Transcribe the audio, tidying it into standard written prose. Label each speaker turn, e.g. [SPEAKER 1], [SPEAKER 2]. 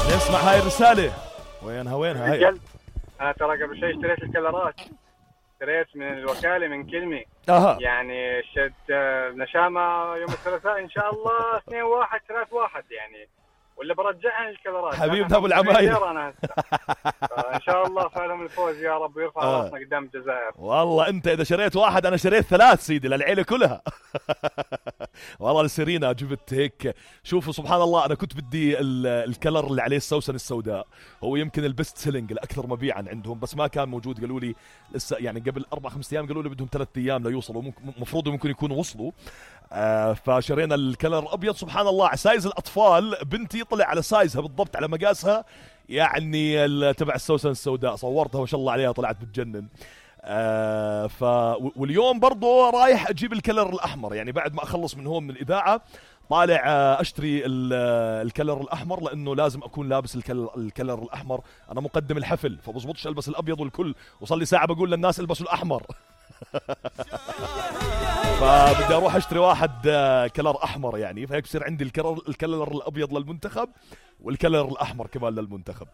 [SPEAKER 1] اسمع هاي الرسالة. وينها هاي؟
[SPEAKER 2] أنا ترى قبل شيء اشتريت الكلرات، اشتريت من الوكالة من كلمة. يعني شد نشامة يوم الثلاثاء إن شاء الله 2-1 3-1 يعني، ولا برجعها الكلرات
[SPEAKER 1] حبيبنا ابو العمايل.
[SPEAKER 2] ان شاء الله فعلهم الفوز يا رب ويرفع راسنا قدام الجزائر.
[SPEAKER 1] والله انت اذا شريت 1 انا شريت 3 سيدي للعيله كلها. والله لسيرينا جبت هيك. شوفوا سبحان الله، انا كنت بدي الكلر اللي عليه السوسن السوداء، هو يمكن البست سيلينج الاكثر مبيعا عندهم، بس ما كان موجود. قالوا لي لسه يعني قبل 4-5 ايام، قالوا لي بدهم 3 ايام ليوصلوا، مفروض ممكن يكونوا وصلوا. فشرينا الكلر الابيض. سبحان الله على سايز الاطفال، بنتي طلع على سايزها بالضبط على مقاسها، يعني تبع السوسن السوداء. صورتها ما شاء الله عليها، طلعت بتجنن. واليوم برضو رايح اجيب الكلر الاحمر، يعني بعد ما اخلص من هون من الاذاعه طالع اشتري الكلر الاحمر، لانه لازم اكون لابس الكلر الاحمر. انا مقدم الحفل فبزبطش البس الابيض والكل، وصل لي ساعه بقول للناس البسوا الاحمر. فبدي اروح اشتري 1 كلر احمر يعني، فهيك بصير عندي الكلر الابيض للمنتخب والكلر الاحمر كمان للمنتخب.